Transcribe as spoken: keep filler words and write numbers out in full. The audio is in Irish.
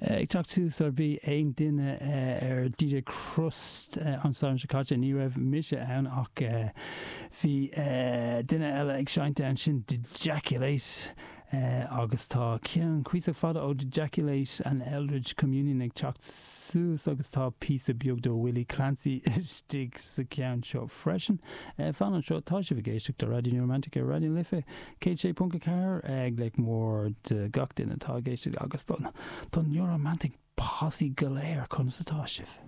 Ag teacht suas ar bhí aon duine ar DJ Crust an Satharn seo caite ní raibh mise ann ach bhí duine eile ag seinnt ann sin Dejaculate agus tá ceann cuíosach fada ó Dejaculate an Eldritch Communion ag teacht suas agus tá píosa beag do Willie Clancy istigh sa ceann seo freisin. Fan anseo tá sibh ag éisteacht do Raidió New Romantic ar Raidió na Life céad sé ponc a ceathair ag glaoch mór do gach duine atá ag éisteacht agus don don New Romantic posse go léir conas atá sibh.